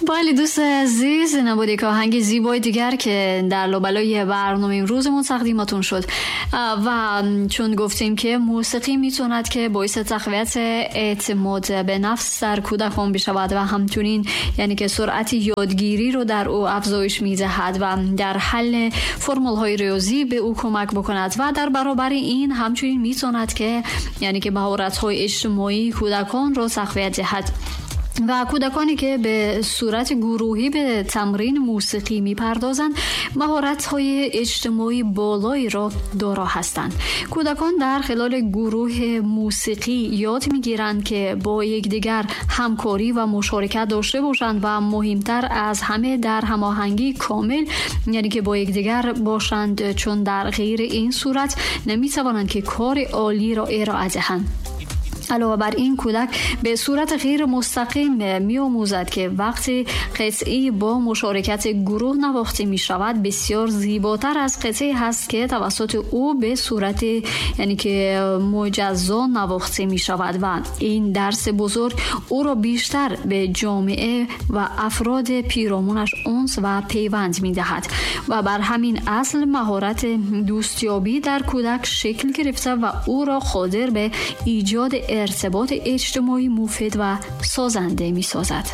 Бале, дӯстои азиз, набуд як оҳанги зебои дигар, ки дар лобалои барномаи имрӯзамон тақдиматон шуд. Ва чун гуфтем, ки мусиқӣ метавонад, ки боиси тақвияти эътимод ба нафс дар кӯдакон бишавад ва ҳамчунин, яъне ки суръати ёдгириро дар ӯ афзоиш медиҳад ва дар ҳалли формулҳои риёзӣ ба ӯ кӯмак бикунад ва дар баробари ин ҳамчунин метавонад, ки яъне ки маҳоратҳои иҷтимоии кӯдаконро тақвият диҳад. Ва кӯдаконе, ки ба сурати гурӯҳӣ ба тамрини мусиқӣ мепардозанд, маҳоратҳои иҷтимоии болоеро доро ҳастанд. Кӯдакон дар хилоли гурӯҳи мусиқӣ ёд мегиранд, ки бо якдигар ҳамкорӣ ва мушорикат дошта бошанд ва муҳимтар аз ҳама дар ҳамоҳангии комил, яъне ки бо якдигар бошанд, чун дар ғайри ин сурат наметавонанд, ки кори олиро ироа диҳанд. Алова бар ин, кӯдак ба сурати ғайримустақим меомӯзад, ки вақте қитъае бо мушорикати гурӯҳ навохта мешавад, бисёр зеботар аз қитъае ҳаст, ки тавассути ӯ ба сурати, яъне ки муҷаззо навохта мешавад ва ин дарси бузург ӯро бештар ба ҷомеа ва афроди пиромунаш унс ва пайванд медиҳад ва бар ҳамин асл маҳорати дӯстёбӣ дар кӯдак шакл гирифта ва ӯро қодир ба эҷоди иртиботи иҷтимоӣ муфид ва созанда месозад.